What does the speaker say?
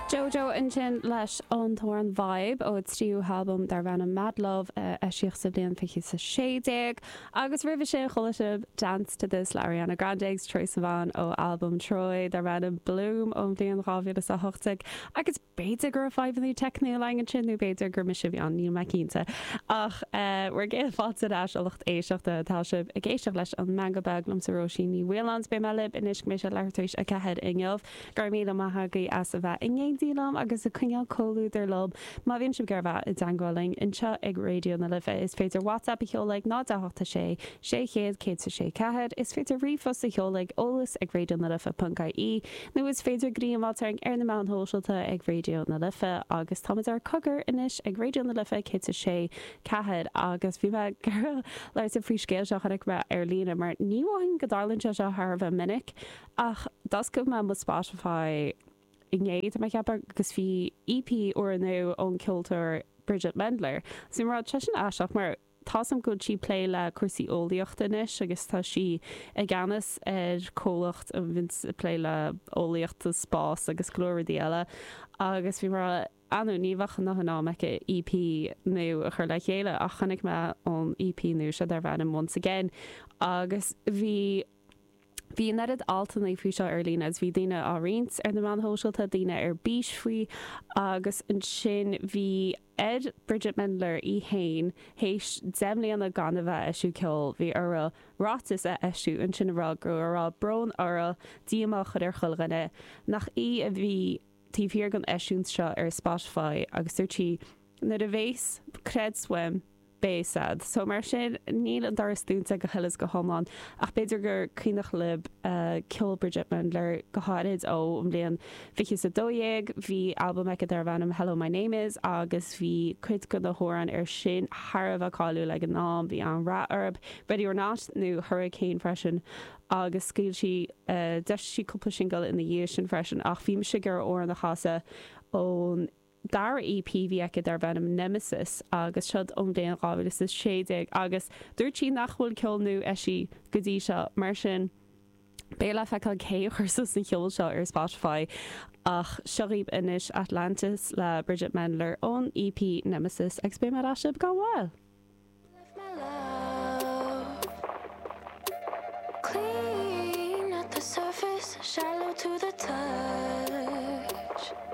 JoJo ansin leis an t-amhrán Vibe ó a tríú halbam darb ainm Mad Love a eisíodh sa bhliain 2016 agus roimhe sin chuala sibh Dance to This le Ariana Grande agus Troye Sivan ó albam Troye darb ainm Bloom ón bhliain 2018 agus B'fhéidir go raibh fadhbanna teicniúla againn ansin nó b'fhéidir gur mise a bhí ann, níl mé cinnte. Ach bhur gcéad fáilte ar ais a lucht éisteachta, tá sibh ag éisteacht leis An Meangadh Beag liomsa Róisín Ní Mhaoláin is beidh mé libh anois go mbeidh sé leathuair tar éis a 4 inniu. Go raibh míle maith agaibh as a bheith in éindí liom agus ag coinneáil comhluadar liom. Má bhíonn sibh ag iarraidh a bheith i dteangmháil linn anseo ag Raidió na Life is féidir WhatsApp a sheoladh ag 0 8 6 600 106 4, is féidir ríomhphost a sheoladh ag eolas ag raidionalife.ie Nó is féidir greim a fháilt orainn ar na meáin shóisialta ag Raidió na Life agus táimid ar Cogar anois ag Raidió na Life 106 4 agus bhí mé ag iarraidh labhairt libh faoi scéal seo a chonaic mé ar líne mar ní mhothaím go dtarlaíonn sé seo thar a bheith minic ach d'oscail mé mo Spotify inné tá mé ag ceapadh agus bhí EP úrnua ón ceoltóir Bridget Mendler. So bhí mé ag rá tá sin aisteach mar Tá's a'm go bhfuil sí ag plé le cúrsaí eolaíochta anois agus tá sí i gceannas ar comhlacht a bhíonns ag plé le eolaíocht sa spás agus go leor rudaí eile agus bhí mé ag rá ah no ní bheadh a ndóthain am aici EP nua a chur le chéile ach chonaic mé an EP nua seo darb ainm Once Again agus bhí Bhí an oiread altanna faoi seo ar líne agus bhí daoine á roinnt ar na meáin shóisialta, daoine ar bís faoi agus ansin bhí ar Bridget Mendler í fhéin, théis 10 mbliana gan a bheith ag eisiú ceoil, bhí uirthi ráiteas a eisiú ansin a rá go raibh brón uirthi, díomá a chur ar chuile dhuine, nach í a bhí taobh thiar den eisiúint seo ar Spotify agus dúirt sí Nuair a bhéas creds uaim, beidh a fhios a'd. So mar sin, níl an doras dúnta go huile is go hiomlán, ach b'fhéidir gur cuimhneach libh ceol Bridget Mendler, go háirid ó an bhliain 2012. Bhí albam aici darbh ainm Hello My Name Is agus bhí cuid de na hamhráin air sin thar a bheith cáiliúil ag an am, bhí an-rath orthu, Ready or Not nó Hurricane freisin agus scaoil sí, d'eisigh sí cúpla singil ina dhiaidh sin freisin ach bhí mise ag iarraidh amhrán a chasadh ón dara EP a bhí aici darb ainm Nemesis agus siod ón bhliain 2016 agus dúirt sí nach bhfuil ceol nua eisithe go dtí seo mar sin beidh le feiceáil cé a chuir suas an cheol seo ar Spotify ach seo dhaoibh anois Atlantis le Bridget Mendler ón EP Nemesis agus beidh mé ar ais libh gan mhoill! Left my love clean at the surface, shallow to the touch.